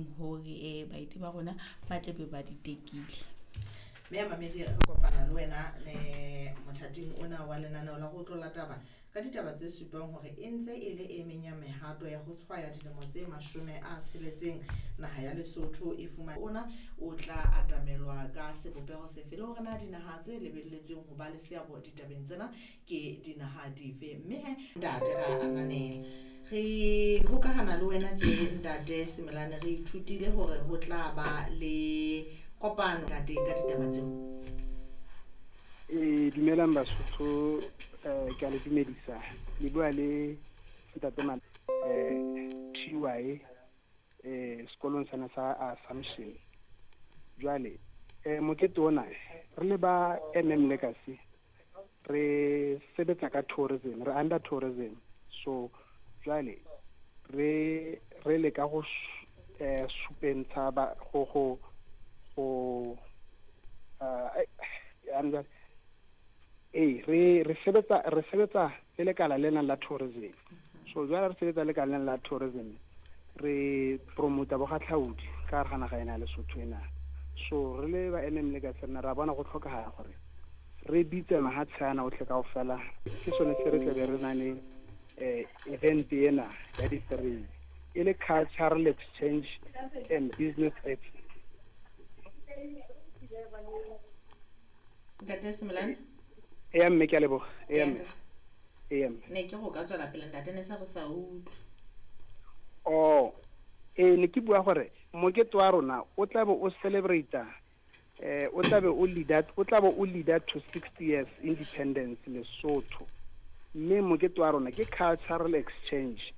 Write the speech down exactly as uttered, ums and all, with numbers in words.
leng hore um baeti ba rona ba tle be ba di tekile. Mme ya mamedi, re kopana le wena le mothating ona wa lenaneo la go tlola taba ka ditaba tse supang hore e ntse e le e meng ya mehato ya ho tshwaya dilemo tse mashome a tsheletseng naha ya Lesotho e fumana ona o tla atamelwa ka sebopeho sefe, le hore na dinaha tse lebelletsweng ho ba le seabo ditabeng tsena ke dinaha dife. Mme he ntate, ra ananela re hokahana le wena tje. Ntate Semelane, re ithutile hore ho tla ba le kopano ka teng ka ditaba tseo. E dumelang Basotho, eh ke a le dumedisa. Le bua le ntate Man eh T Y eh sekolong sena sa Assumption. Jwale eh mokete ona, re le ba M M Legacy, re sebetsa ka tourism, re under tourism. So jwale re re leka go eh supentsha ba go go go eh ee re re sebetsa re sebetsa le lekala lena la tourism. So jwale re sebetsa lekala lena la tourism, re promota bogatlhaodi ka gare ga naga ena ya Lesotho ena. So re le ba M M Legacy, rena ra bona go tlhokagala gore re bitse mahatshe ana otlhe kaofela. Ke sone se re tlabe re na le um event ena ya di-three, e le cultural exchange and business expo. Ntate Semelane. Eya mme, ke a leboga. Eya mme, eya mme. Ne ke go ka tswela pele, ntate, ne se re sa utlwe. Oh, ee, ne ke bua gore mokete wa rona o tlabe o celebrata eh o tlabe o leader o tlabe o leader to sixty years independence Lesotho, mme mokete wa rona ke cultural exchange.